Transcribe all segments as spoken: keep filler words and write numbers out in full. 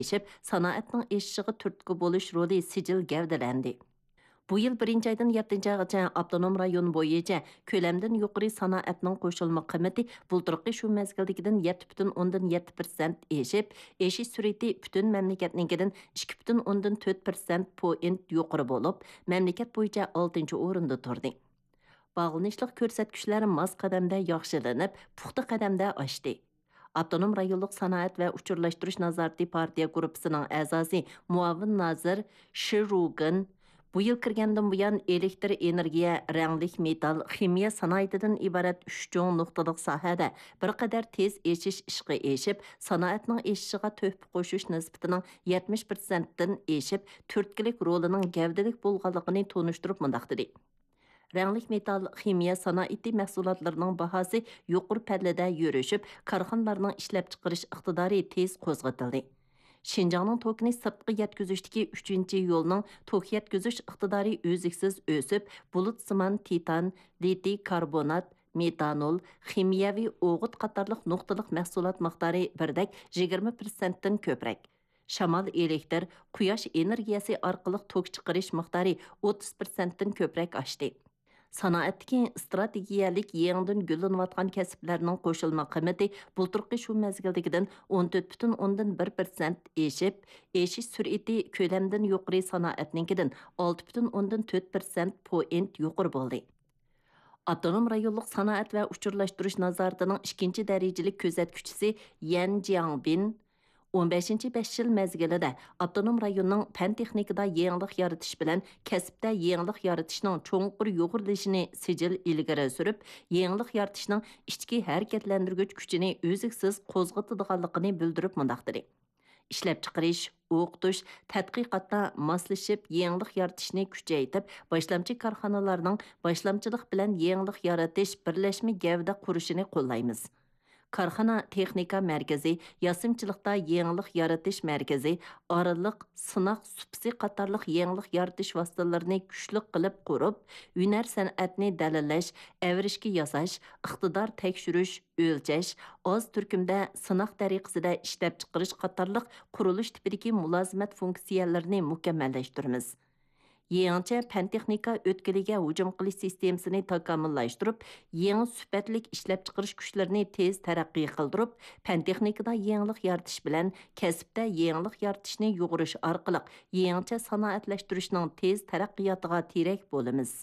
ئېشىپ، سانائەتنىڭ ئېشىشىغا تۈرتكە بولۇش رولى سىجىل گەۋدىلەندى. بۇ يىل بىرىنچى ئايدىن يەتتىنچى ئايغىچە ئاپتونوم رايون بويىچە كۆلەمدىن يۇقىرى سانائەتنىڭ قوشۇلما قىممىتى بۇلتۇرقى شۇ مەزگىلدىكىدىن يەتتە پۈتۈن ئوندىن يەتتە پىرسەنت ئېشىپ، ئېشىش سۈرئىتى پۈتۈن مەملىكەتنىڭكىدىن ئىككى پۈتۈن ئوندىن تۆت پىرسەنت پوينت يۇقىرى بولۇپ، مەملىكەت بويىچە ئالتىنچى ئورۇندا تۇردى. باغلىنىشلىق كۆرسەتكۈچلەر ماس قەدەمدە ياخشىلىنىپ، پۇختا قەدەمدە ئاشتى. ئاپتونوم رايونلۇق سانائەت ۋە ئۇچۇرلاشتۇرۇش نازارىتى پارتىيە گۇرۇپپىسىنىڭ ئەزاسى، مۇئاۋىن نازىر شى رۇگېن بۇ يىل كىرگەندىن بۇيان، ئېلېكتر ئېنېرگىيە، رەڭلىك مېتال، خىمىيە سانائىتىدىن ئىبارەت ئۈچ چوڭ نۇقتىلىق ساھەدە بىر قەدەر تېز ئېشىش ئىشقا ئېشىپ، سانائەتنىڭ ئېشىشىغا تۆھپە قوشۇش نىسبىتىنىڭ يەتمىش پىرسەنتتىن ئېشىپ، تۈرتكىلىك رولىنىڭ گەۋدىلىك بولغانلىقىنى تونۇشتۇرۇپ مۇنداق دېدى: رەڭلىك مېتال خىمىيە سانائىتى مەھسۇلاتلىرىنىڭ باھاسى يۇقىرى پەللىدە يۈرۈشۈپ، كارخانىلارنىڭ ئىشلەپچىقىرىش ئىقتىدارى تېز قوزغىتىلدى. شىنجاڭنىڭ توكىنى سىرتقا يەتكۈزۈشتىكى ئۈچىنچى يولنىڭ توك يەتكۈزۈش ئىقتىدارى ئۈزلۈكسىز ئۆسۈپ، بۇلۇتسىمان تىتان، لىتىي كاربونات، مېتانول، خىمىيەۋى ئوغۇت قاتارلىق نۇقتىلىق مەھسۇلات مىقدارى بىردەك يىگىرمە پىرسەنتتىن كۆپرەك. شامال ئېلېكتر، قۇياش ئېنېرگىيەسى ئارقىلىق توك چىقىرىش مىقدارى ئوتتۇز پىرسەنتتىن كۆپرەك ئاشتى. سانائەتتىكى ئىستراتېگىيەلىك يېڭىدىن گۈللىنىۋاتقان كەسىپلەرنىڭ قوشۇلما قىممىتى بۇلتۇرقى شۇ مەزگىلدىكىدىن ئون تۆت پۈتۈن ئوندىن بىر پىرسەنت ئېشىپ، ئېشىش سۈرئىتى كۆلەمدىن يۇقىرى سانائەتنىڭكىدىن ئالتە پۈتۈن ئوندىن تۆت پىرسەنت پوينت يۇقىرى بولدى. ئاپتونوم رايونلۇق سانائەت ۋە ئۇچۇرلاشتۇرۇش نازارىتىنىڭ ئىككىنچى دەرىجىلىك كۆزەتكۈچىسى يەن جياڭبىن ئون بەشىنچى بەش يىل مەزگىلىدە ئاپتونوم رايوننىڭ پەن تېخنىكىدا يېڭىلىق يارىتىش بىلەن كەسىپتە يېڭىلىق يارىتىشنىڭ چوڭقۇر يۇغۇرۇلۇشىنى سىجىل ئىلگىرى سۈرۈپ، يېڭىلىق يارىتىشنىڭ ئىچكى ھەرىكەتلەندۈرگۈچ كۈچىنى ئۈزلۈكسىز قوزغىتىدىغانلىقىنى بىلدۈرۈپ مۇنداق دېدى: ئىشلەپچىقىرىش، ئوقۇتۇش، تەتقىقاتتا ماسلىشىپ يېڭىلىق يارىتىشنى كۈچەيتىپ، باشلامچى كارخانىلارنىڭ باشلامچىلىق بىلەن يېڭىلىق يارىتىش بىرلەشمە گەۋدە قۇرۇشىنى قوللايمىز. كارخانا تېخنىكا مەركىزى، ياسىمىچىلىقتا يېڭىلىق يارىتىش مەركىزى، ئارىلىق سىناق سۇپىسى قاتارلىق يېڭىلىق يارىتىش ۋاسىتىلىرىنى كۈچلۈك قىلىپ قۇرۇپ، ھۈنەر سەنئەتنى دەلىللەش، ئەۋرىشكە ياساش، ئىقتىدار تەكشۈرۈش، ئۆلچەش، ئاز تۈركۈمدە سىناق تەرىقىسىدە ئىشلەپچىقىرىش قاتارلىق قۇرۇلۇش تىپىدىكى مۇلازىمەت فۇنكسىيەلىرىنى مۇكەممەللەشتۈرىمىز. يېڭىچە پەن-تېخنىكا ئۆتكىلىگە ھۇجۇم قىلىش سىستېمىسىنى تاكامۇللاشتۇرۇپ، يېڭى سۈپەتلىك ئىشلەپچىقىرىش كۈچلىرىنى تېز تەرەققىي قىلدۇرۇپ، پەن-تېخنىكىدا يېڭىلىق يارىتىش بىلەن كەسىپتە يېڭىلىق يارىتىشنى يۇغۇرۇش ئارقىلىق يېڭىچە سانائەتلەشتۈرۈشنىڭ تېز تەرەققىياتىغا تىرەك بولىمىز.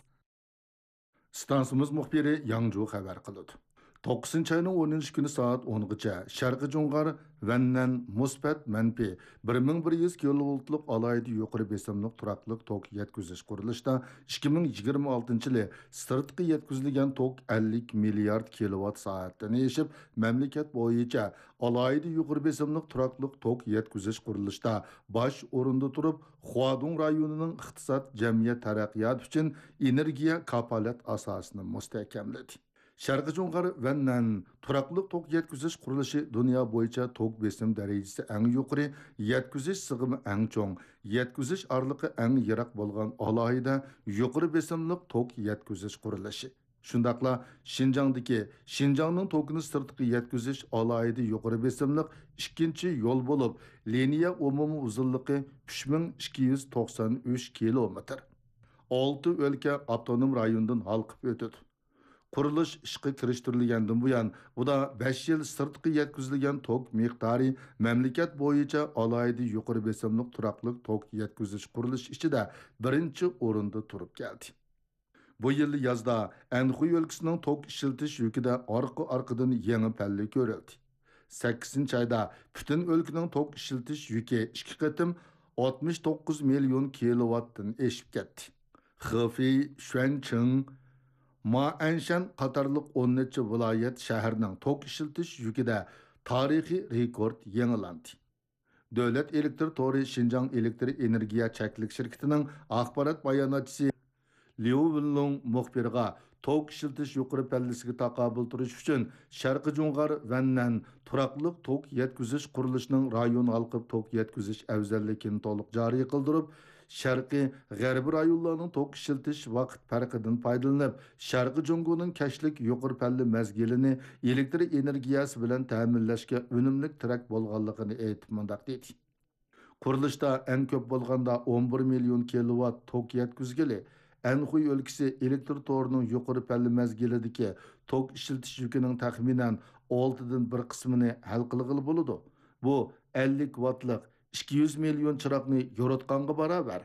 ئىستانسىمىز مۇخبىرى ياڭجۇ خەۋەر قىلىدۇ. توققۇزىنچى ئاينىڭ ئونىنچى كۈنى سائەت ئونغىچە شەرقىي جۇڭغار ۋەننەن مۇسبەت مەنپىي بىر مىڭ بىر يۈز كىلوۋولتلۇق ئالاھىدە يۇقىرى بېسىملىق تۇراقلىق توك يەتكۈزۈش قۇرۇلۇشىدا ئىككى مىڭ يىگىرمە ئالتىنچى يىلى سىرتقا يەتكۈزۈلگەن توك ئەللىك مىليارد كىلوۋات سائەتتىن ئېشىپ، مەملىكەت بويىچە ئالاھىدە يۇقىرى بېسىملىق تۇراقلىق توك يەتكۈزۈش قۇرۇلۇشىدا باش ئورۇندا تۇرۇپ، خۇادۇڭ رايونىنىڭ ئىقتىساد، جەمئىيەت تەرەققىياتى ئۈچۈن ئېنېرگىيە كاپالەت ئاساسىنى مۇستەھكەملىدى. شەرقىي جۇڭغار ۋەننەن تۇراقلىق توك يەتكۈزۈش قۇرۇلۇشى دۇنيا بويىچە توك بېسىم دەرىجىسى ئەڭ يۇقىرى، يەتكۈزۈش سىغىمى ئەڭ چوڭ، يەتكۈزۈش ئارىلىقى ئەڭ يىراق بولغان ئالاھىدە يۇقىرى بېسىملىق توك يەتكۈزۈش قۇرۇلۇشى. شۇنداقلا شىنجاڭدىكى شىنجاڭنىڭ توكىنى سىرتقا يەتكۈزۈش ئالاھىدە يۇقىرى بېسىملىق ئىككىنچى يول بولۇپ، لىنىيە ئومۇمىي ئۇزۇنلۇقى ئۈچ مىڭ ئىككى يۈز توقسان ئۈچ كىلومېتىر. ئالتە ئۆلكە ئاپتونوم رايوندىن ھالقىپ ئۆتىدۇ. قۇرۇلۇش ئىشقا كىرىشتۈرۈلگەندىن بۇيان، ئۇدا بەش يىل سىرتقا يەتكۈزۈلگەن توك مىقدارى مەملىكەت بويىچە ئالاھىدە يۇقىرى بېسىملىق تۇراقلىق توك يەتكۈزۈش قۇرۇلۇشى ئىچىدە بىرىنچى ئورۇندا تۇرۇپ كەلدى. بۇ يىل يازدا ئەنخۇي ئۆلكىسىنىڭ توك ئىشلىتىش يۈكىدە ئارقا-ئارقىدىن يېڭى پەللە كۆرۈلدى. سەككىزىنچى ئايدا پۈتۈن ئۆلكىنىڭ توك ئىشلىتىش يۈكى ئىككى قېتىم ئاتمىش توققۇز مىليون كىلوۋاتتىن ئېشىپ كەتتى. خېفېي، شۈەنچىڭ، مائەنشەن قاتارلىق ئون نەچچە ۋىلايەت، شەھەرنىڭ توك ئىشلىتىش يۈكىدە تارىخىي رېكورت يېڭىلاندى. دۆلەت ئېلېكتر تورى شىنجاڭ ئېلېكتر ئېنېرگىيە چەكلىك شىركىتىنىڭ ئاخبارات باياناتچىسى ليۇ ۋېنلۇڭ مۇخبىرغا توك ئىشلىتىش يۇقىرى پەللىسىگە تاقابىل تۇرۇش ئۈچۈن شەرقىي جۇڭغار ۋەننەن تۇراقلىق توك يەتكۈزۈش قۇرۇلۇشىنىڭ رايون ھالقىپ توك يەتكۈزۈش ئەۋزەللىكىنى تولۇق جارى قىلدۇرۇپ، شەرقىي، غەربىي رايونلارنىڭ توك ئىشلىتىش ۋاقىت پەرقىدىن پايدىلىنىپ، شەرقىي جۇڭگونىڭ كەچلىك يۇقىرى پەللە مەزگىلىنى ئېلېكتر ئېنېرگىيەسى بىلەن تەمىنلەشكە ئۈنۈملۈك تىرەك بولغانلىقىنى ئېيتىپ مۇنداق دېدى. قۇرۇلۇشتا ئەڭ كۆپ بولغاندا ئون بىر مىليون كىلوۋات توك يەتكۈزگىلى، ئەنخۇي ئۆلكىسى ئېلېكتر تورىنىڭ يۇقىرى پەللە مەزگىلىدىكى توك ئىشلىتىش يۈكىنىڭ تەخمىنەن ئالتىدىن بىر قىسمىنى ھەل قىلغىلى بولىدۇ. بۇ ئەللىك ۋاتلىق ئىككى يۈز مىليون چىراغنى يورۇتقانغا باراۋەر.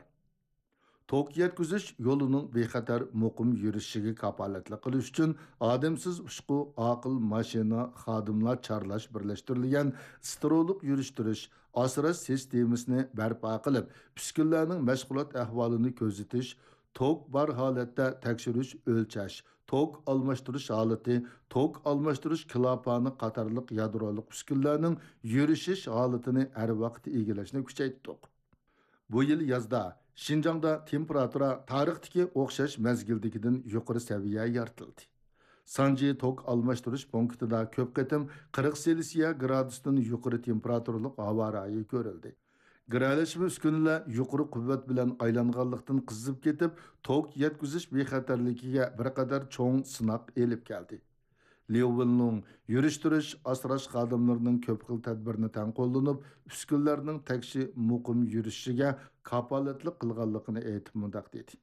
توك يەتكۈزۈش يولىنىڭ بىخەتەر، مۇقىم يۈرۈشۈشىگە كاپالەتلىك قىلىش ئۈچۈن ئادەمسىز ئۇچقۇ، ئاقىل ماشىنا، خادىملار چارلاش بىرلەشتۈرۈلگەن ستېرېئولۇق يۈرۈشتۈرۈش، ئاسراش سىستېمىسىنى بەرپا قىلىپ، ئۈسكۈنىلەرنىڭ مەشغۇلات ئەھۋالىنى كۆزىتىش، توك بار ھالەتتە تەكشۈرۈش، ئۆلچەش، توك ئالماشتۇرۇش ھالىتى، توك ئالماشتۇرۇش كىلاپانى قاتارلىق يادرولۇق ئۈسكۈنىلەرنىڭ يۈرۈشۈش ھالىتىنى ھەر ۋاقىت ئىگىلەشنى كۈچەيتتۇق. بۇ يىل يازدا شىنجاڭدا تېمپېراتۇرا تارىختىكى ئوخشاش مەزگىلدىكىدىن يۇقىرى سەۋىيە يارىتىلدى. سانجى توك ئالماشتۇرۇش پونكىتىدا كۆپ قېتىم قىرىق سېلسىيە گرادۇستىن يۇقىرى تېمپېراتۇرىلىق ھاۋا رايى كۆرۈلدى. گىرەلەشمە ئۈسكۈنىلەر يۇقىرى قۇۋۋەت بىلەن ئايلانغانلىقتىن قىزىپ كېتىپ، توك يەتكۈزۈش بىخەتەرلىكىگە بىر قەدەر چوڭ سىناق ئېلىپ كەلدى. ليۇ ۋېنلۇڭ يۈرۈشتۈرۈش، ئاسراش خادىملىرىنىڭ كۆپ خىل تەدبىرنى تەڭ قوللىنىپ، ئۈسكۈنىلەرنىڭ تەكشى مۇقىم يۈرۈشۈشىگە كاپالەتلىك قىلغانلىقىنى ئېيتىپ مۇنداق دېدى: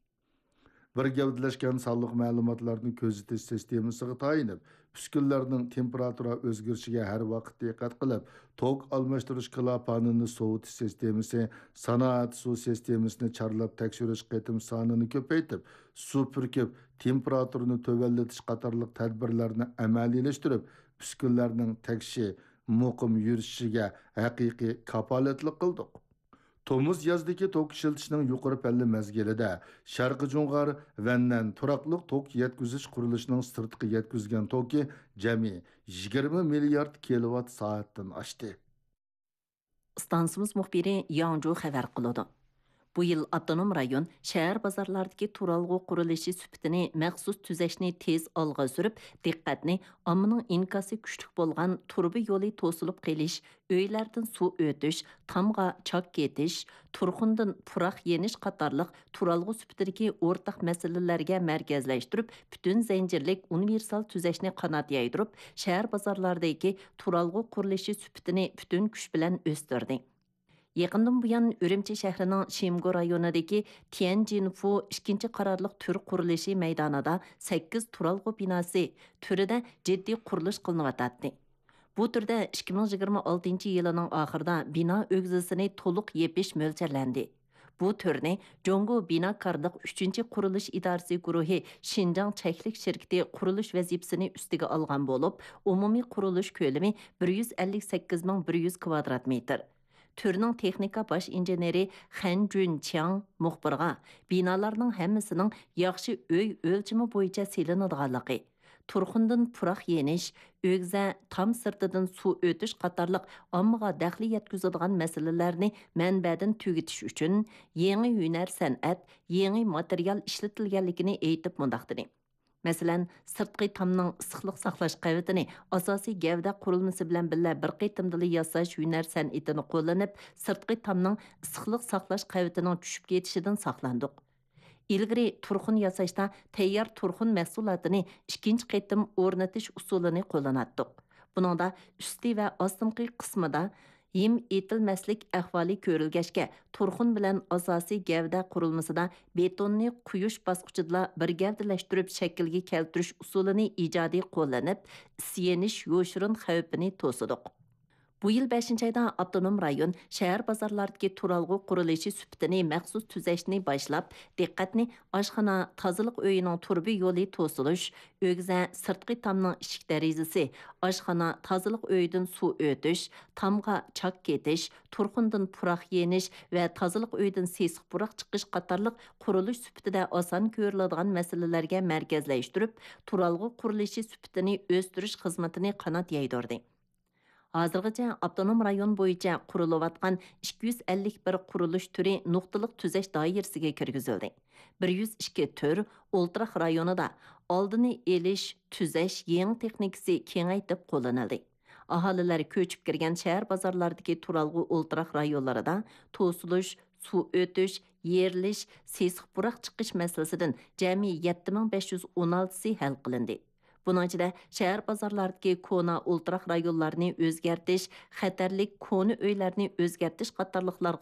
بىر گەۋدىلەشكەن سانلىق مەلۇماتلارنى كۆزىتىش سىستېمىسىغا تايىنىپ، ئۈسكۈنىلەرنىڭ تېمپېراتۇرا ئۆزگىرىشىگە ھەر ۋاقىت دىققەت قىلىپ، توك ئالماشتۇرۇش كىلاپانىنى سوۋۇتۇش سىستېمىسى، سانائەت سۇ سىستېمىسىنى چارلاپ تەكشۈرۈش قېتىم سانىنى كۆپەيتىپ، سۇ پۈركۈپ، تېمپېراتۇرىنى تۆۋەنلىتىش قاتارلىق تەدبىرلەرنى ئەمەلىيلەشتۈرۈپ، ئۈسكۈنىلەرنىڭ تەكشى، مۇقىم يۈرۈشۈشىگە ھەقىقىي كاپالەتلىك قىلدۇق. تومۇز يازدىكى توك ئىشلىتىشنىڭ يۇقىرى پەللە مەزگىلىدە شەرقىي جۇڭغار، ۋەننەن تۇراقلىق توك يەتكۈزۈش قۇرۇلۇشىنىڭ سىرتقا يەتكۈزگەن توكى جەمئىي يىگىرمە مىليارد كىلوۋات سائەتتىن ئاشتى. ئىستانسىمىز مۇخبىرى ياڭجۇ خەۋەر قىلىدۇ. بۇ يىل ئاپتونوم رايون شەھەر بازارلاردىكى تۇرالغۇ قۇرۇلۇشى سۈپىتىنى مەخسۇس تۈزەشنى تېز ئالغا سۈرۈپ، دىققەتنى ئاممىنىڭ ئىنكاسى كۈچلۈك بولغان تۇرۇبا يولى توسۇلۇپ قېلىش، ئۆيلەردىن سۇ ئۆتۈش، تامغا چاك كېتىش، تۇرخۇندىن پۇراق يېنىش قاتارلىق تۇرالغۇ سۈپىتىدىكى ئورتاق مەسىلىلەرگە مەركەزلەشتۈرۈپ، پۈتۈن زەنجىرلىك ئۇنىۋېرسال تۈزەشنى قانات يايدۇرۇپ، شەھەر بازارلاردىكى تۇرالغۇ قۇرۇلۇشى سۈپىتىنى پۈتۈن كۈچ بىلەن ئۆستۈردى. يېقىندىن بۇيان، ئۈرۈمچى شەھىرىنىڭ شىمگو رايونىدىكى تيەنجىنفۇ ئىككىنچى قارارلىق تۈر قۇرۇلۇشى مەيدانىدا سەككىز تۇرالغۇ بىناسى تۈرىدە جىددىي قۇرۇلۇش قىلىنىۋاتاتتى. بۇ تۈردە ئىككى مىڭ يىگىرمە ئالتىنچى يىلىنىڭ ئاخىرىدا بىنا ئۆگزىسىنى تولۇق يېپىش مۆلچەرلەندى. بۇ تۈرنى جۇڭگو بىناكارلىق ئۈچىنچى قۇرۇلۇش ئىدارىسى گۇرۇھى شىنجاڭ چەكلىك شىركىتى قۇرۇلۇش ۋەزىپىسىنى ئۈستىگە ئالغان بولۇپ، ئومۇمىي قۇرۇلۇش كۆلىمى بىر يۈز ئەللىك سەككىز مىڭ بىر يۈز كىۋادرات مېتىر. تۈرنىڭ تېخنىكا باش ئىنژېنېرى خەن جۈنچياڭ مۇخبىرغا بىنالارنىڭ ھەممىسىنىڭ ياخشى ئۆي ئۆلچىمى بويىچە سېلىنىدىغانلىقى، تۇرخۇندىن پۇراق يېنىش، ئۆگزە، تام سىرتىدىن سۇ ئۆتۈش قاتارلىق ئاممىغا دەخلى يەتكۈزىدىغان مەسىلىلەرنى مەنبەدىن تۈگىتىش ئۈچۈن يېڭى ھۈنەر سەنئەت، يېڭى ماتېرىيال ئىشلىتىلگەنلىكىنى ئېيتىپ مۇنداق دېدى: مەسىلەن، سىرتقى تامنىڭ ئىسسىقلىق ساقلاش قەۋىتىنى ئاساسىي گەۋدە قۇرۇلمىسى بىلەن بىللە بىر قېتىمدىلا ياساش ھۈنەر سەنئىتىنى قوللىنىپ، سىرتقى تامنىڭ ئىسسىقلىق ساقلاش قەۋىتىنىڭ چۈشۈپ كېتىشىدىن ساقلاندۇق. ئىلگىرى تۇرخۇن ياساشتا تەييار تۇرخۇن مەھسۇلاتىنى ئىككىنچى قېتىم ئورنىتىش ئۇسۇلىنى قوللىناتتۇق. بۇنىڭدا ئۈستى ۋە ئاستىنقى قىسمىدا ھىم ئېتىلمەسلىك ئەھۋالى كۆرۈلگەچكە، تۇرخۇن بىلەن ئاساسىي گەۋدە قۇرۇلمىسىدا بېتوننى قۇيۇش باسقۇچىدىلا بىر گەۋدىلەشتۈرۈپ شەكىلگە كەلتۈرۈش ئۇسۇلىنى ئىجادىي قوللىنىپ، ئىس يېنىش يوشۇرۇن خەۋپىنى توسىدۇق. بۇ يىل بەشىنچى ئايدا ئاپتونوم رايون شەھەر بازارلاردىكى تۇرالغۇ قۇرۇلۇشى سۈپىتىنى مەخسۇس تۈزەشنى باشلاپ، دىققەتنى ئاشخانا تازىلىق ئۆيىنىڭ تۇرۇبا يولى توسۇلۇش، ئۆگزە سىرتقى تامنىڭ ئىشىك دېرىزىسى، ئاشخانا تازىلىق ئۆيىدىن سۇ ئۆتۈش، تامغا چاك كېتىش، تۇرخۇندىن پۇراق يېنىش ۋە تازىلىق ئۆيىدىن سېسىق پۇراق چىقىش قاتارلىق قۇرۇلۇش سۈپىتىدە ئاسان كۆرۈلىدىغان مەسىلىلەرگە مەركەزلەشتۈرۈپ، تۇرالغۇ قۇرۇلۇشى سۈپىتىنى ئۆستۈرۈش خىزمىتىنى قانات يايدۇردى. ھازىرغىچە ئاپتونوم رايون بويىچە قۇرۇلۇۋاتقان ئىككى يۈز ئەللىك بىر قۇرۇلۇش تۈرى نۇقتىلىق تۈزەش دائىرىسىگە كىرگۈزۈلدى. بىر يۈز ئىككى تۈر ئولتۇراق رايونىدا ئالدىنى ئېلىش، تۈزەش يېڭى تېخنىكىسى كېڭەيتىپ قوللىنىلدى. ئاھالىلەر كۆچۈپ كىرگەن شەھەر بازارلاردىكى تۇرالغۇ ئولتۇراق رايونلىرىدا توسۇلۇش، سۇ ئۆتۈش، يېرىلىش، سېسىق پۇراق چىقىش مەسىلىسىدىن جەمئىي يەتتە مىڭ بەش يۈز ئون ئالتىسى ھەل قىلىندى. بۇنىڭ ئىچىدە شەھەر بازارلاردىكى كونا ئولتۇراق رايونلارنى ئۆزگەرتىش، خەتەرلىك كونا ئۆيلەرنى ئۆزگەرتىش قاتارلىقلارغا